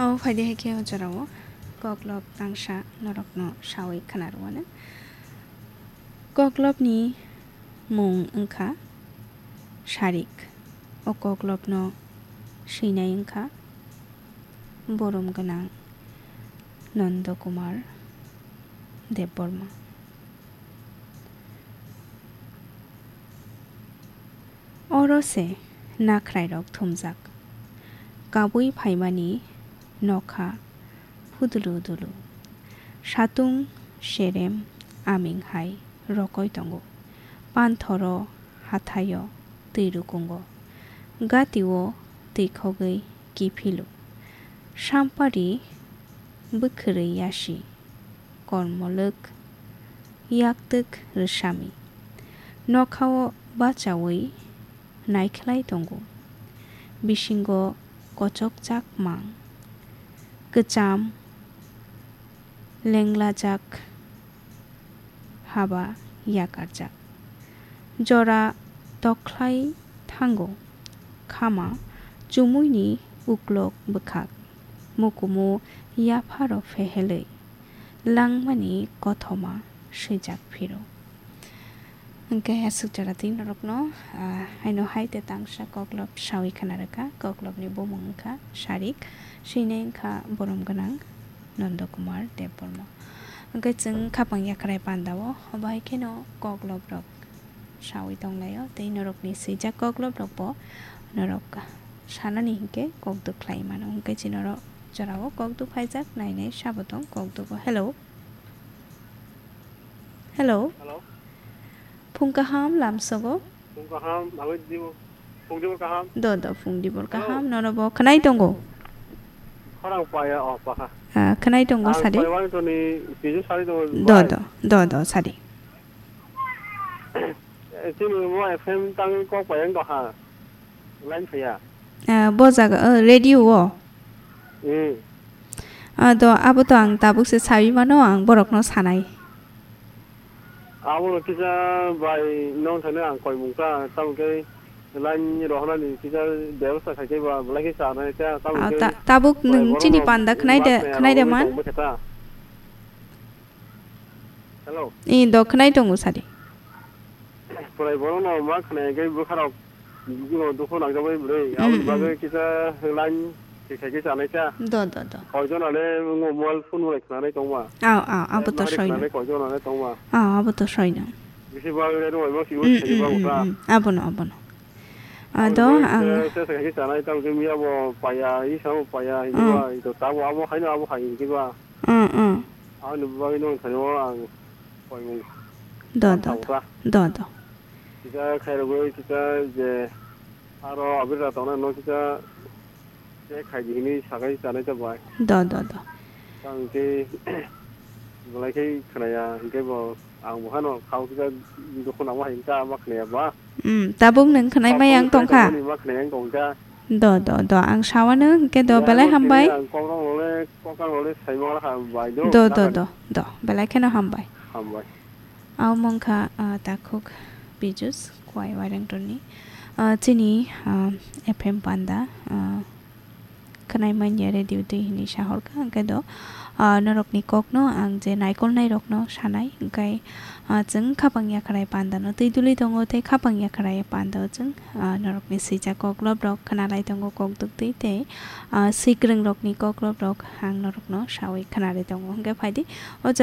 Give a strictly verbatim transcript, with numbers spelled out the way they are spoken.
O phaidi hai khe o jorao koklop tangsa norokno sawi khna rwmani. Koklopni mung wngkha Sarik. O koklopno swinai wngkha borom gwnang Nanda Kumar Debbarma. Oro se nakhrairok thumjak. Kabui phaimani nokha phudulu dulu. Satung serem aming hai rokoi tongo. Panthoro hathaio twi rukungo. Gatio twi khogwi kiphilo. Sampari bwkhwrwi yasi. Kormolwk yaktwk rwsami. Nokhao bachaui naikhlai tongo. Bisingo kochokjak mang. Kwcham lenglajak haba yakarjak. Jora tokhlai thango. Khama chumuini uklok bwkhak. Mukumu yapharo phehelwi langmani kothoma swijak phiro. Hwnkhe aswk jora twi norokno, ah, haino hai te tangsa koklop sawi khna rwkha. Koklopni bumung wngkha Sarik, swinai wngkha borom gwnang Nanda Kumar Debbarma. Hwnkhe chwng khapang yakrai pandao, obo hai kheno koklop rok sawi tonglaio, tei norokni swijak koklop rokbo norok sanani hinkhe kokduk khlai mano. Hwnkhe chini oro jorao kokduk phaijak, nainai sabo tong kokdugo. Hello. Hello. Hello. Phung kaham lamsogo. Phung kaham, nangwi dibo. Phung dibor kaham. Do, do, phung dibor Hello. Kaham. Nono bo khwnai tongo. Khorang paya, o, paha. Ah, khwnai tongo, Ang sadi. Paiwani toni, pijo sari tongo, Do, bai. Do, do, do, sadi. Eh, chini mo F M tangwi kok payang doha. Line phaya. Eh, bo jaga, eh, radio o. Hmm. Ah, do, abo to ang tabuk se sawi mano, ang borokno sanai. Abo no kisa bai nong thani ang koi mung ta, tamo khe line rohna ni kisa bebosta khai khe ba, belai khe chanai ta, tamo Ah, khe ta-, tabuk bai nwng borok chini no panda khwnai de, mat khwnai de nai man? Tong bwkha ta. Hello. I do khwnai tongo sadi. Pwrai borok no ma khwnai khe bwkha rok bwkha rok dukhu nang jak bai bwrwi. Mm, aboni bagwi mm. Kisa line thik thai khe chanai cha. Do, do, do. Koi jona le ngo mobile phone bai khwnanai tong ma. Aw, aw, abo to soi no. Khwnanai koi jona le tong ma. Aw, abo to soi no. Bisi bagwi le rwai ma si Mm, use mm, ba mm, uta. Mm. Abo no, abo no. Ado ang. Sesa khe chanai tamo khe miya bo paya, i samo paya, hinwi ba, i to tabo abo haino abo hai hinwi ba. Mm, mm. Aboni bagwi no thani o ang koimung. Do, do, do. Do, do. Kisa khairogwi kisa je aro abira tongna no kisa se khaidi hinwi sakai chanai ta bai. Do, do, do. Tamo khe belai khe khwnaya, hinkhe bo ang bo hano khao kisa dukhu nangma hai wngkha, ma khwnaya ba. Hmm, tabuk nwng khwnai mai ang tongkha. Ma khwnai ang tongkha. Do, do, do, ang sawano hinkhe do, belai hambai. Ang kok rok le, kok rok le sai ma kha bai do. Do, do, do, do, belai kheno hambai. Hambai. Abo wngkha, ah, takhuk Pijus Kuai Wairengtonni. Ah, chini, ah, F M panda, ah, khwnai manya radio twi hinwi sahorkha, hwnkhe do, ah, norokni kokno ang je naikolnai rokno sanai, hwnkhe, ah, chwng khapang yakharai pandano twi duli tongo, tei khapang yakharai pandao chwng, ah, norokni swijak koklop rok khwnalai tongo kokduk twi, tei, ah, swikwrwng rokni koklop rok ang norokno sawi khwnari tongo, hwnkhe phaidi o jaga.